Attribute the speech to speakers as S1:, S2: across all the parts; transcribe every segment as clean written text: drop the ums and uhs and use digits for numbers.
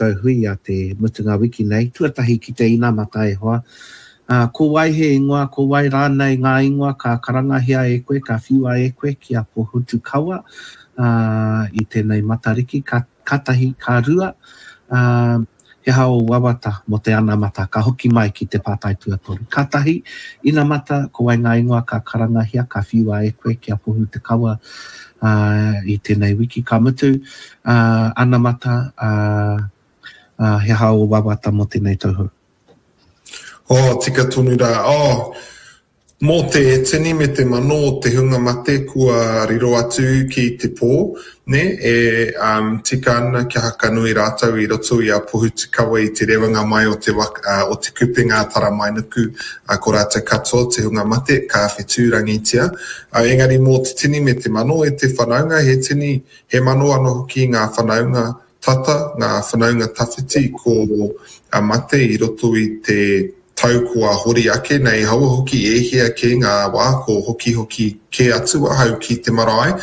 S1: Koutou hui a te mutunga wiki nei, tuatahi ki te inamata e hoa. Ā, ko wai he ingoa, ko wai rānei ngā ingoa ka karangahia e koe, ka whiua e koe ki a Pohutukawa, ā, i tēnei Matariki, ka, ka tahi, ka rua, ā, he aha ō wawata mō te anamata, ka hoki mai ki te pātai tuatoru. Ka tahi, inamata, ko wai ngā ingoa ka karangahia, ka whiua e koe ki a Pohutukawa, ā, i tēnei wiki, ka mutu, ā, anamata, ā, ā, he aha ō wawata mō tēnei tau hou?
S2: Oh, tika tonu rā. Oh, mō te tini me te mano o te hunga mate kua riro atu ki te pō, nē, e um, tika ana kia hakanui rātou i roto i a Pohutukawa i te rewanga mai o te, waka, uh, o te kupenga Taramainuku, uh, ko rātou katoa te hunga mate, ka whetūrangitia. Uh, engari mō te tini me te mano e te whanaunga, he tini, he mano anō hoki ngā whanaunga tata, ngā whanaunga tawhiti ko a mate i roto i te tau kua hori ake nei, haua hoki e hia kē ngā wā ko hokihoki kē atu ahau ki te marae,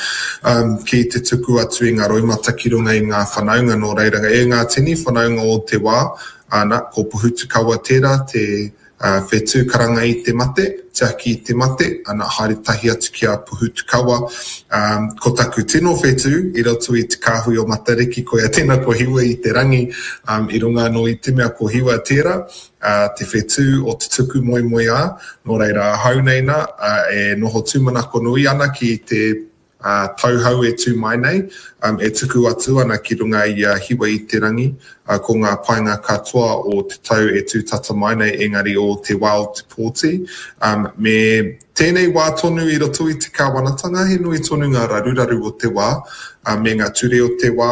S2: um, ki te tuku atu i ngā roimata ki runga i ngā whanaunga, nō reira, e ngā tini whanaunga o te wā, ana, ko Pohutukawa tērā te Ā, whetū karanga i te mate, tiaki i te mate, ana, haere tahi atu ki a Pohutukawa. Ā, ko taku tino whetū i roto i te kāhui o Matariki, koia tēnā ko Hiwa i te rangi, ā, i runga anō i te mea ko Hiwa tērā, ā, te whetū o te tuku moemoeā, nō reira ahau nei nā, ā, e noho tūmanako nui ana ki te ā, tauhou e tū mai nei, e tuku atu ana ki runga i a Hiwa i te rangi, ā, ko ngā painga katoa o te tau e tū tata mai nei, engari o te wā o te pōti. Ā, me tēnei wā tonu i roto i te kāwanatanga, he nui tonu ngā raruraru o te wā, ā, me ngā ture o te wā,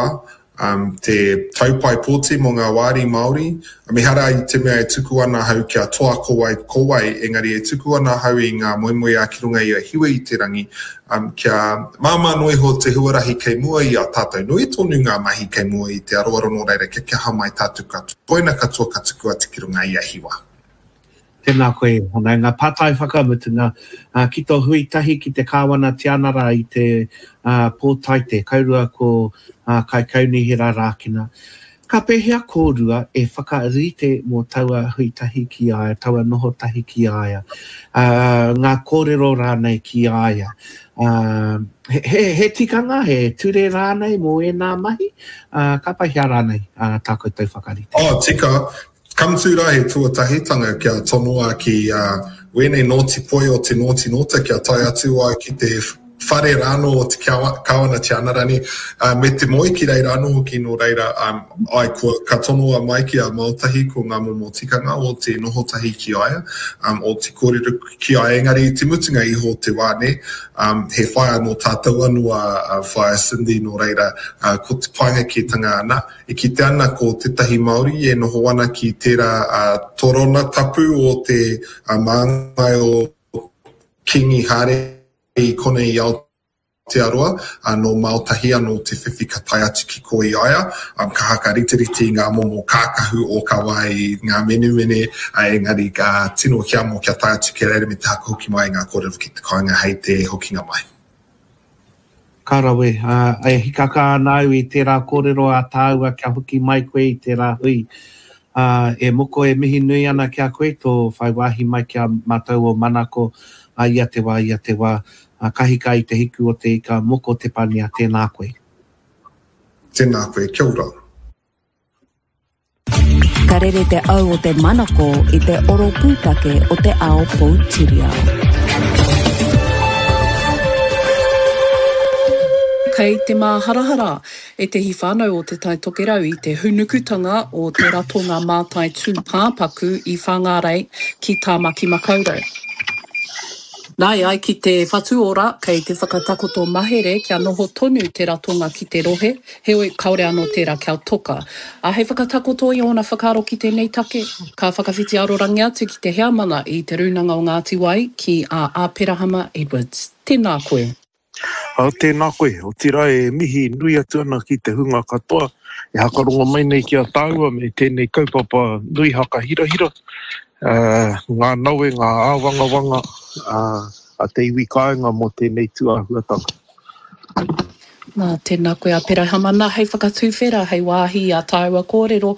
S2: Um, te taupae pōti mō ngā wāri Māori. Um, ehara i te mea e tuku ana ahau kia toa ko wai, ko wai, engari e tuku ana ahau i ngā moemoeā ki runga i a Hiwa i te rangi, um, kia māmā noa iho te huarahi kei mua i a tātou. Nui tonu ngā mahi kei mua i te aroaro nō reira kia kaha mai tātou katoa. Koina katoa ka tuku atu ki runga i a Hiwa.
S1: Tēnā koe e whanaunga. Pātai whakamutunga, ki tō hui tahi ki te Kāwana Tianara i te pō Taite, kaurua ko Kaikaunihera Rākena. Ka pēhea kōrua e whakarite mō taua hui tahi ki a ia, taua noho tahi ki a ia, ngā kōrero rānei ki a ia? He tikanga, he ture rānei mō ēnā mahi? Ka pēhea rānei tā koutou whakarite?
S2: Oh, tika. Ka mutu rā he tuatahitanga kia tonoa ki wēnei nōti poi o te nōti nōta kia tae atu ai ki te whare rānō o te Kāwana Tianarani me te moe ki reira anō hoki nō reira ai kua ka tonoa mai ki a Maotahi ko ngā momo tikanga o te noho tahi ki a ia o te kōrero ki a ia engari i te mutunga iho o te wā nē he whaea nō tātou anō a Whaea Cindy nō reira ko te painga kētanga ana E kite ana ko tētahi Māori e noho ana ki tērā torona tapu o te māngai o Kīngi Hāre i konei i Aotearoa, nō Maotahi anō te whiwhi ka tae atu ki kō i a ia, ka hakariterite i ngā momo kākahu ōkawa i ngā menemene, engari ka tino hiamo kia tae atu ki reira me te haka hoki mai i ngā kōrero ki te kāinga hei te hokinga mai.
S1: Ka rawe, ā, e hikaka ana au i tērā kōrero a tāua kia hoki mai koe i tērā hui. Ā, e moko e mihi nui ana ki a koe tō whai wāhi mai ki a mātou o Manako, ā, ia te wā, ia te wā. Ā, ka hika i te hiku o te ika, moko te pania, tēnā koe.
S2: Tēnā koe, kia ora.
S3: Ka rere te au o te manako i te oro pūtake o te ao poutiriao.
S4: Kei te māharahara ētehi whānau o Te Tai Tokerau i te hūnukutanga o te ratonga mātai tūpāpaku i Whāngārei ki Tāmaki Makaurau. Nā, e ai ki te Whatu Ora, kei te whakatakoto mahere kia noho tonu te ratonga ki te rohe, heoi kāore anō tērā kia toka. Ā, hei whakatakoto i ōna whakaaro ki tēnei take, ka whakawhiti arorangi atu ki te heamana i Te Rūnanga o Ngāti Wai, ki a Āperahama Edwards. Tēnā koe.
S5: Ā, tēnā koe. Otirā e mihi nui atu ana ki te hunga katoa e hakarongo mai nei ki a tāua me tēnei kaupapa nui hakahirahira, ā, ngā nawe, ngā āwangawanga a te iwi kāinga mō tēnei tūāhuatanga.
S4: Nā, tēnā koe Aperahama. Nā, hei whakatuwhera, hei wāhi i ā tāua kōrero.